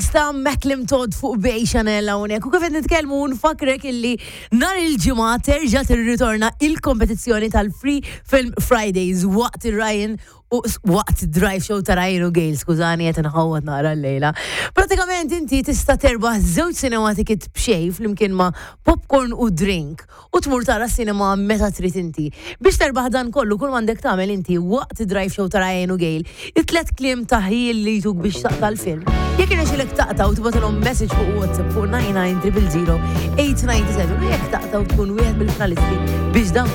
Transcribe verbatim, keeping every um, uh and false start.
Days ta' Macklin Todd fuq Bay Chanel hawnhekk. U kif qed nitkellmu, nfakrek illi nhar il-Ġimgħa terġa' tirritorna il-kompetizzjoni tal-Free Film Fridays waqt ir-Ryan u waqt drive show ta' Ryan u Gail, skużani, qed nħawwad naqra l-lejla. Pratikament inti tista' terbaħ żewġ cinema ticket b'xejn flimkien ma' popcorn u drink u tmur tara cinema meta trid inti. Biex terbaħ dan kollu, kull m'għandek tagħmel inti waqt drive show ta' Ryan u Gail, it-tlet kliem ta' ħil li jtuk biex taqta' l-film. Jekk irnexxilek taqta' u tibgħatilhom message fuq WhatsApp fuq nine nine zero zero eight nine seven u jekk taqta' u tkun wieħed mill-finalisti biex dan